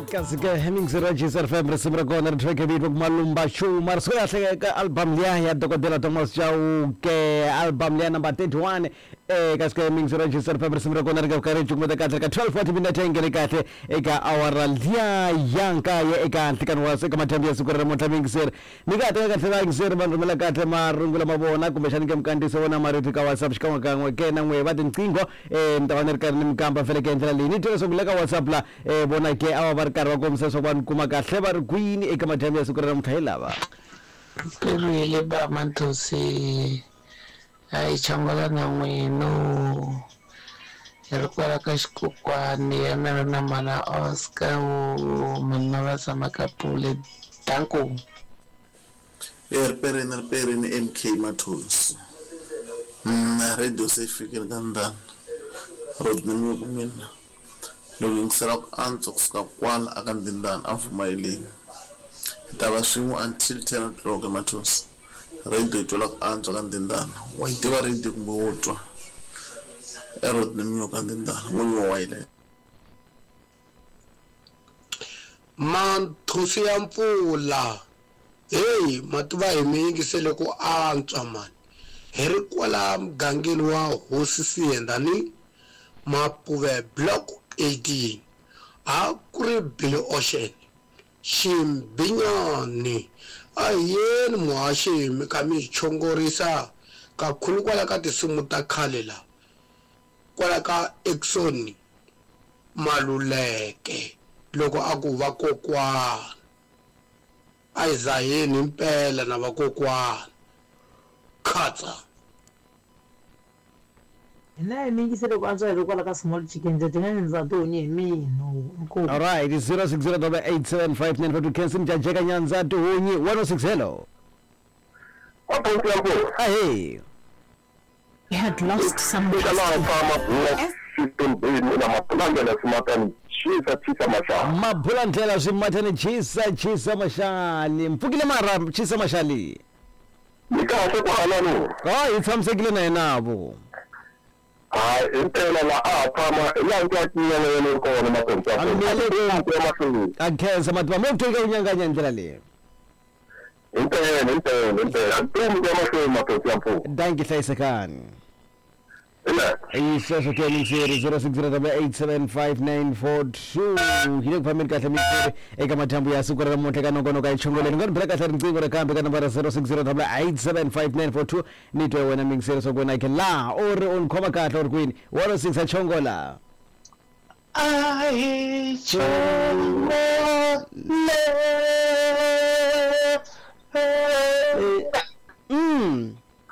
Kasi ke Hemmings ra Jesus FM risimu ra kona ri track vito ku Malumba Chuma ri suka kahle ka album liya ya Dokodela Thomas Chauke, album liya number 31. Kasi ke Hemmings ra Jesus FM risimu ra kona ri nga karhi cukumeta kahle ka 12:40 minute yi nghene kahle eka awara liya ya nkaye eka nhlikani wa eka madyambu ya siku ra namuntlha. Miyingiseri mi nga ha teka kahle vayingiseri va rhumela kahle marungulo ma vona kumbexani ke mikandziyiso vona marito ka WhatsApp xikan'wekan'we ke na n'we va tinqingho. Mi ta va ni ri karhi ni mi kamba fele ke ndlela leyi ni twa leswaku le ka WhatsApp la vona ke a va va ri karhi va kombisa leswaku va ni kuma kahle va ri kwini eka madyambu ya siku ra namuntlha hi lava. Mperile ba Manthosi a hi chongola na n'wino hi ri kwala ka xikokwani ya mina na mana Oscar wo manna va tshama ka Pule danko. E riperini riperini MK Mathonsi na radio se yi fikile ka ndhana Rodney Muku mina loko yingisela ku antswa kusuka kwala aka Ndhindana a Mfumayeleni hi ta va swin'we until 10 o'clock Mathonsi radio yi twala ku antswa ka Ndhindana wa yi tiva radio kumbe wo twa e Rodney Muku ka Ndhindana n'winyi wa wayilese. Manthosi ya mpfula heyi ma tiva hi mi yingisele ku antswa mani hi ri kwala mugangeni wa Hosi Siyenda ni Mapuve Block 18 a ku ri Billy Ocean Ximbinyani a hi yeni muhaxi mi kha mi hi chongorisa kakhulu kwala ka tinsimu ta khale la kwala ka Exoni Maluleke loko a ku vakokwana a hi zaheni himpela na vakokwana. Khatsa. Hina hi mi yingisele ku antswa hi ri kwala ka Small Chicken ndzi dya nyandza tihunyi hi mino. Inkomu. Alright, 0608875952 Khensi Mjajeka Nyandza Tihunyi 106 hello. Ahee. He had lost some Eka laha fa mabula xitumbeni na mabulandlela swimatani chisa chisa maxali. Mabulandlela swimatani chisa chisa maxali. Mpfukile mara chisa maxali. Ni kahle ku halano. Ha hi tshamisekile na yena vo. Hayi himpela la a ha tshama hi laha ndzi nyana ya le kona makondzo ya kona. A khensa mativa mo ku ku nyanganya hi ndlela leyi. Himpela himpela himpela. Ntomi ya mahlweni makondzo ya mpfuno. Dankie hlayisekani. Hi sweswo ke mintsiri 0608875942 hi le ku fambeni kahle mintsiri eka madyambu ya siku ra namuntlha ka nongonoko ya chongoleni nga ni bela kahle riqingho ra kambe ka nambara 0608875942 ni twe wena mingiseri swa ku wena ke laha u ri u ni khoma kahle u ri kwini 106 a chongola. A hi chongole.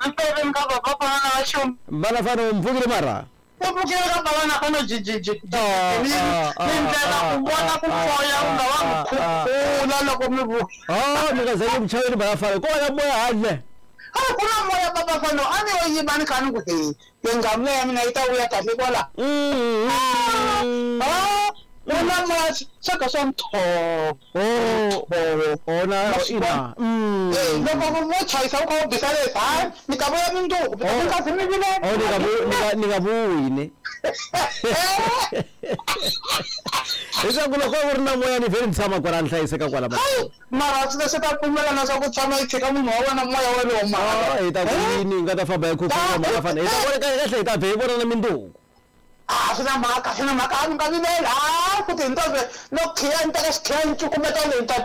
Mpfukeni ka baba fana na vaxum. Bana fana u mpfukile mara. U pfukile ka baba na fana ji ji ji. Ni ndlela ku vona ku moya u nga va khukhula loko mi vu. Oh, mi nga zangi mchaveni bana fana. Ko na moya handle. A ku na moya baba fana a ni yo yiva ni kha ni ku he. Yingamu ya mina yi ta vuya kahle kwala. Ah, ku na moya swa ka swa ntho. Oh, oh na ina. Loko mo chayisa u kha u bisa leswi, hayi ni ta vuya mundzuku. Mi nga zi mi vilela. Oh, ni nga vuyi ne. Leswaku loko ku ri na moya ni vhele ni tshama kwala ni hlayiseka kwala. Hayi, mara swi swi ta pfumela na swa ku tshama yi tshika munhu wa wena moya wolowo mara. Hi ta ku yini hi nga ta famba hi khukhula mara fana. Hi ta vona kahle kahle hi ta vhe hi vona na mindzuku. A swi na mhaka, swi na mhaka, a ni nga vileli. Hayi futhi hi ni ta no khiya ni teka xikhiya ni cukumeta leyi ni ta twa.